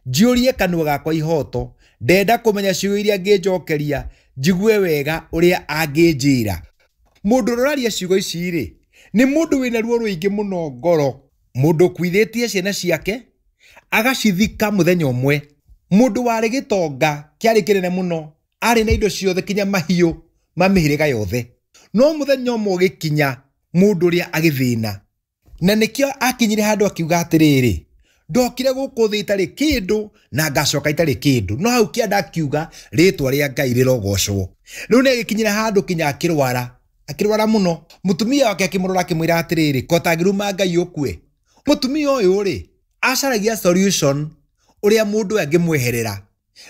Njiyũrie kanua gakwa ihoto. Ndenda kũmenya ciugo iria angĩnjokeria, njigue wega ũrĩa angĩnjĩra. Mũndũ ũrĩa ũraria ciugo ici rĩ, nĩ mũndũ wĩna ruo rũingĩ mũno ngoro. Mũndũ ũkuithĩtie ciana ciake, agacithika mũthenya ũmwe. Mũndũ warĩ gĩtonga kĩarĩ kĩnene mũno, arĩ na indo ciothe kinya mahiũ ma mĩhĩrĩga yothe. No mũthenya ũmwe ũgĩkinya, mũndũ ũrĩa agĩthĩna. Na nĩkĩo akinyire handũ akiuga atĩrĩrĩ, ndokire gũkũ thĩ itarĩ kĩndũ na ngacoka itarĩ kĩndũ. No hau kĩanda akiuga rĩtwa rĩa Ngai rĩrogocwo. Rĩu nĩ agĩkinyire handũ kinya akĩrwara, akĩrwara mũno. Mũtumia wake akĩmũrora akĩmwĩra atĩrĩrĩ, ko ũtangĩruma Ngai ũkue. Mũtumia ũyũ rĩ, acaragia solution ũrĩa mũndũ ũyũ angĩmweherera.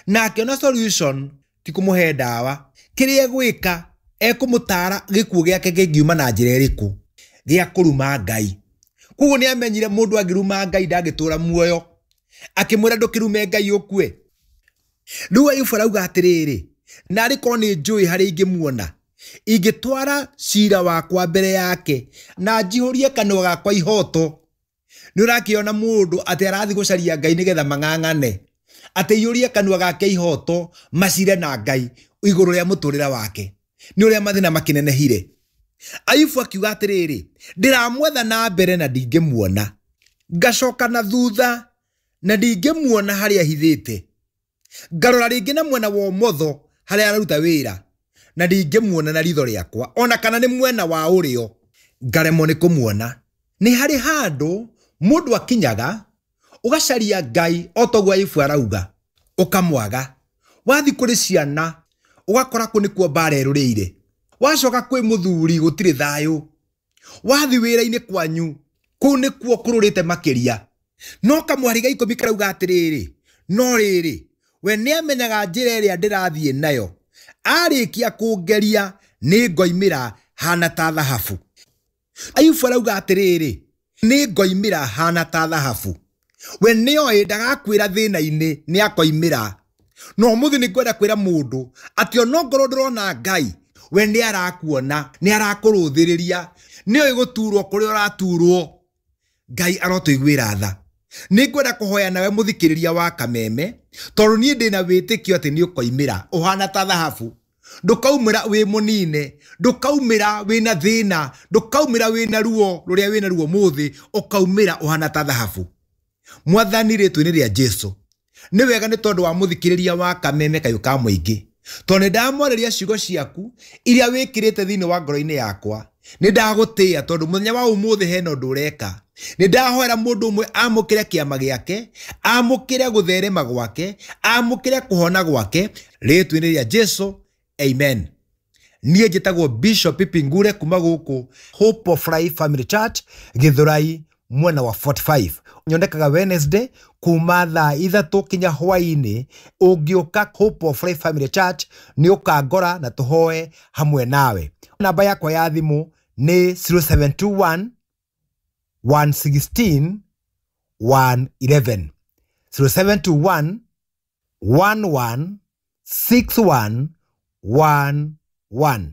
Na akĩona solution ti kũmũhe ndawa. Kĩrĩa egwĩka, ekũmũtara gĩkuũ gĩake kĩngiuma na njĩra ĩrĩkũ, gĩa kũruma Ngai. Koguo nĩ amenyire mũndũ angĩruma Ngai ndangĩtũra muoyo. Akĩmwĩra ndũkĩrume Ngai ũkue. Rĩu Ayubu arauga atĩrĩrĩ, narĩ korwo nĩ njũĩ harĩa ingĩmuona, ingĩtwara cira wakwa mbere yake na njihũrie kanua gakwa ihoto. Nĩ ũrakĩona mũndũ atĩ arathiĩ gũcaria Ngai nĩgetha mang'ang'ane, atĩ aiyũrie kanua gake ihoto macire na Ngai igũrũ rĩa mũtũrĩre wake. Nĩ ũrĩa mathĩna makĩnenehire. Ayubu akiuga atĩrĩrĩ, ndĩramwetha na mbere na ndingĩmuona, ngacoka na thutha na ndingĩmuona harĩa ahithĩte, ngarora rĩngĩ na mwena wa ũmotho harĩa araruta wĩra na ndingĩmuona na ritho rĩakwa, ona kana nĩ mwena wa ũrĩo ngaremwo nĩ kũmuona. Nĩ harĩ handũ mũndũ akinyaga ũgacaria Ngai o ta ũguo Ayubu arauga, ũkamwaga. Wathiĩ kũrĩ ciana ũgakora kũ nĩkuo mbara ĩrũrĩire. Wacoka kwĩ mũthuri gũtirĩ thayũ. Wathiĩ wĩra-inĩ kwanyu kũu nĩkuo kũrũrĩte makĩria. No kamwari ga ikũmi karauga atĩrĩrĩ, no rĩrĩ, we nĩamenyaga njĩra ĩrĩa ndĩrathiĩ nayo, arĩkia kũngeria nĩ ngoimĩra hana ta thahabu. Ayubu arauga atĩrĩrĩ, nĩ ngoimĩra hana ta thahabu. We nĩoĩ ndagakuĩra thĩna-inĩ, nĩakoimĩra. No ũmũthĩ nĩ ngwenda kwĩra mũndũ atĩ onongorwo ndũrona Ngai, we nĩ arakuona, nĩ arakũrũthĩrĩria, nĩoĩ gũturwo kũrĩa ũraturwo. Ngai arotũiguĩra tha. Nĩ ngwenda kũhoya nawe mũthikĩrĩria wa Kameme, tondũ niĩ ndĩna wĩtĩkio atĩ nĩ ũkoimĩra ũhana ta thahabu. Ndũkaumĩra wĩ mũnine, ndũkaumĩra wĩna thĩna, ndũkaumĩra wĩna ruo rũrĩa wĩna ruo mũthĩ, ũkaumĩra ũhana ta thahabu. Mwathani rĩtwa-inĩ rĩa Jesu, nĩ wega nĩ tondũ wa mũthikĩrĩria wa Kameme kayũ ka mũingĩ, tondũ nĩ ndamwarĩria ciugo ciaku iria wĩkĩrĩte thĩinĩ wa ngoro-inĩ yakwa. Nĩ ndagũtĩĩa tondũ mũthenya wa ũmũthĩ hena ũndũ ũreka. Nĩ ndahoera mũndũ ũmwe amũkĩre kĩama gĩake, amũkĩre gũtherema gwake, amũkĩre kũhona gwake rĩtwa-inĩ rĩa Jesu, amen. Niĩ njĩtagwo Bishop Pipi Ngure kuma gũkũ Hope of Life Family Church, Gĩthũrai, mwena wa 45. Nyonekaga Wednesday kuma thaa ithatũ kinya hwaĩ-inĩ. Ũngĩũka Hope of Life Family Church nĩ ũkangora na tũhoe hamwe nawe. Namba yakwa ya thimũ nĩ 0721 116 111. 0721 11 61 11.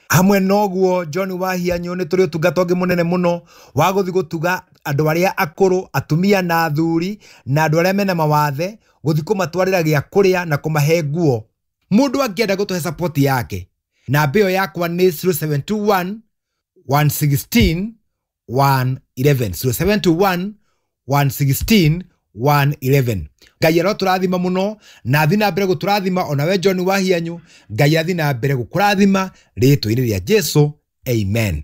Hamwe noguo John Wahianyũ nĩ tũrĩ ũtungata ũngĩ mũnene mũno wa gũthiĩ gũtuga andũ arĩa akũrũ, atumia na athuri, na andũ arĩa mena mawathe, gũthiĩ kũmatwarĩra gĩa kũrĩa na kũmahe nguo. Mũndũ angĩenda gũtũhe support yake, namba ĩyo yakwa nĩ 0721 116 111. 0721 116 111. Ngai arotũrathima mũno na athiĩ na mbere gũtũrathima, onawe John Wahianyũ, Ngai athiĩ na mbere gũkũrathima rĩtwa-inĩ rĩa Jesu, amen.